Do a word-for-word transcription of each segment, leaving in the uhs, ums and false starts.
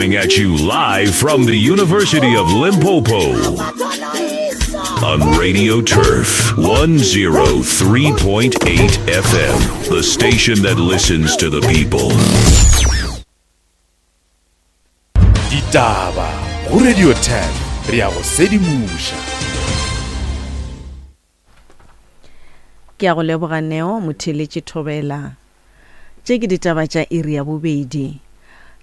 Coming at you live from the University of Limpopo on Radio Turf one oh three point eight F M, the station that listens to the people. Ditaba go Radio Turf, re a go sedimoša. Ke a go leboga Neo Motheletše Thobela. Tše ke ditaba tša iri ya bobedi.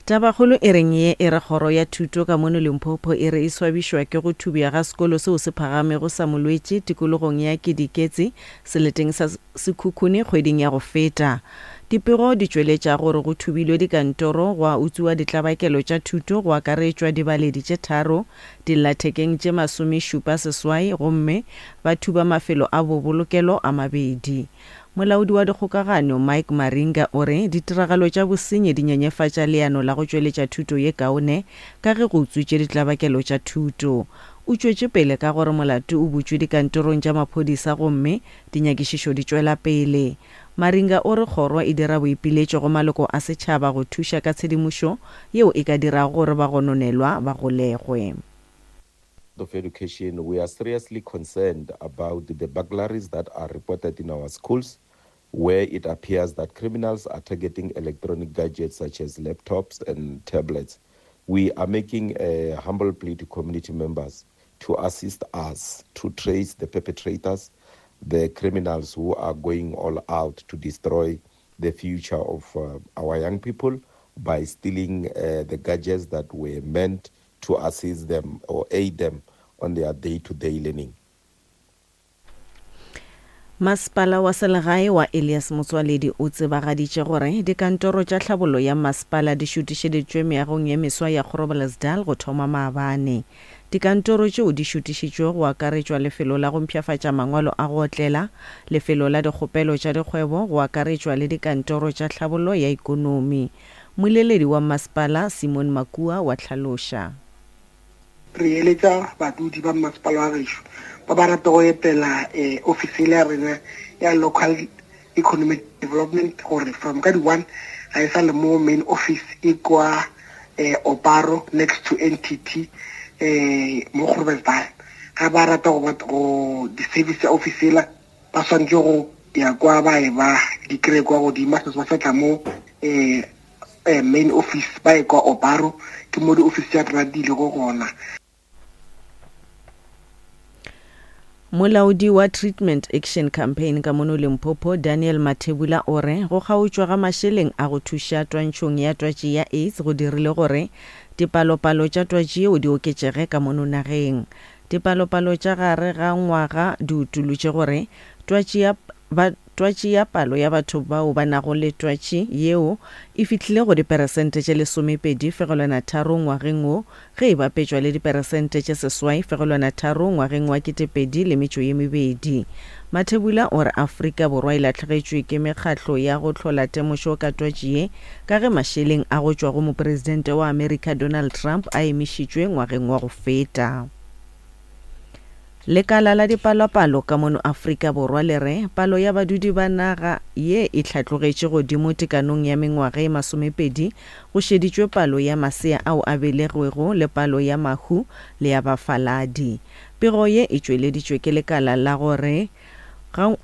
Tabakgolo e reng ye e re kgoro ya thuto ka mono Limpopo e re e swabišwa ke go thubja ga sekolo seo se phagamego sa Molwetši tikologong ya Kediketse seleteng sa Sekhukhune kgweding ya go feta. Dipego di tšweletša gore go thubilwe dikantoro gwa utswiwa ditlabakelo tša thuto go akaretšwa dibaledi tše tharo, dillathekeng tše masomešupa seswai gomme ba thuba mafelo a bobolokelo a mabedi. Molaodi wa dikgokagano Mike Maringa o re ditiragalo tša bosenyi di nyenyefatša leano la go tšweletša thuto ye kaone ka ge go utswitše ditlabakelo tša thuto. O tšwetše pele ka gore molato o butšwe dikantorong tša maphodisa gomme dinyakišišo di tšwela pele. Maringa o re kgoro e dira boipiletšo go maloko a setšhaba go thuša ka tshedimošo yeo e ka dirago gore bagononelwa ba golegwe. Of Education, we are seriously concerned about the burglaries that are reported in our schools, where it appears that criminals are targeting electronic gadgets such as laptops and tablets. We are making a humble plea to community members to assist us to trace the perpetrators, the criminals who are going all out to destroy the future of uh, our young people by stealing uh, the gadgets that were meant to assist them or aid them on their day-to-day learning. Masepala wa selegae wa Elias Motsoaledi o tsebagaditše gore dikantoro tša tlhabollo ya masepala di šutišeditšwe meagong ye meswa ya Groblersdal go thoma maabane. Dikantoro tšeo di šutišitšwe go akaretšwa lefelo la go mpshafatša mangwalo a go otlela, lefelo la dikgopelo tša dikgwebo go akaretšwa le dikantoro tša tlhabollo ya ikonomi. Moleledi wa masepala Simon Makua wa tlhaloša. Re eletša badudi ba masepala wa gešo ba ba rata go etela office ya rena ya local economic development gore from ka di-one ga e sa le mo main office e kwa Oparo next to N T T mo Groblersdal. Ga ba rata go go di-service ya office ela ba swanetše go ya kwa ba e ba di kry-e kwa godimo, ba sa tla mo main office ba e kwa Oparo, ke mo di-office tša rena di lego gona. Molaodi wa Treatment Action Campaign ka mono Limpopo Daniel Mathebula o re go kgaotšwa ga mašeleng a go thuša twantšhong ya twatši ya AIDS go dirile gore dipalopalo tša twatši yeo di oketšege ka mono nageng. Dipalopalo tša gare ga ngwaga di utolotše gore twatši ya ba twatši ya palo ya batho bao ba nago le twatši yeo e fihlile go diperesente tše lesomepedi fegelwana tharo ngwageng wo ge e bapetšwa le diperesente tše seswai fegelwana tharo ngwageng wa ketepedi le metšo ye mebedi. Mathebula o re Afrika Borwa e lahlegetšwe ke mekgatlo ya go hlola temošo ka twatši ye ka ge mašeleng a go tšwa go mopresidente wa Amerika Donald Trump a emišitšwe ngwageng wa go feta. Lekala la dipalopalo ka mono Afrika Borwa le re palo ya badudi ba naga ye e hlatlogetše godimo tekanong ya mengwaga e masomepedi go šeditšwe palo ya masea ao a belegwego le palo ya mahu le ya bafaladi. Pego ye e tšweleditšwe ke lekala la gore ga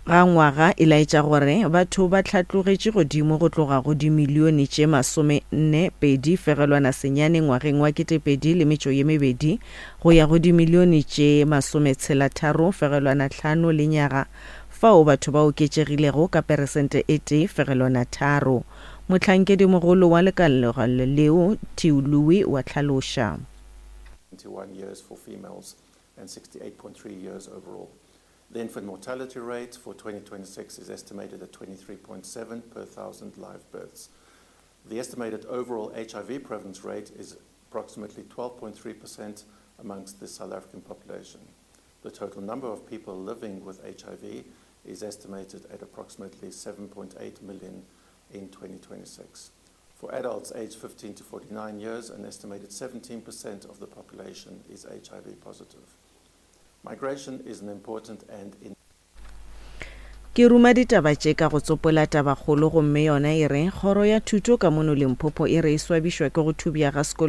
ga ngwaga e laetša gore batho ba hlatlogetše godimo go tloga go dimilione tše masome nne pedi fegelwana senyane ngwageng wa ketepedi le metšo ye mebedi go ya go dimilione tše masome tshela tharo fegelwana tlhano le nyaga fao batho ba oketšegilego ka peresente e tee fegelwana tharo. Motlhankedimogolo wa lekala leo Theo Louis wa tlhaloša. twenty-one years for females and sixty-eight point three years overall. The infant mortality rate for twenty twenty-six is estimated at twenty-three point seven per thousand live births. The estimated overall H I V prevalence rate is approximately twelve point three percent amongst the South African population. The total number of people living with H I V is estimated at approximately seven point eight million in twenty twenty-six. For adults aged fifteen to forty-nine years, an estimated seventeen percent of the population is H I V positive. Migration is an important and in Ke Ke ruma ditaba tše ka go tsopola tabakgolo gomme yona e re kgoro ya thuto ka mono Limpopo e re e swabišwa ke go thubja ga sekolo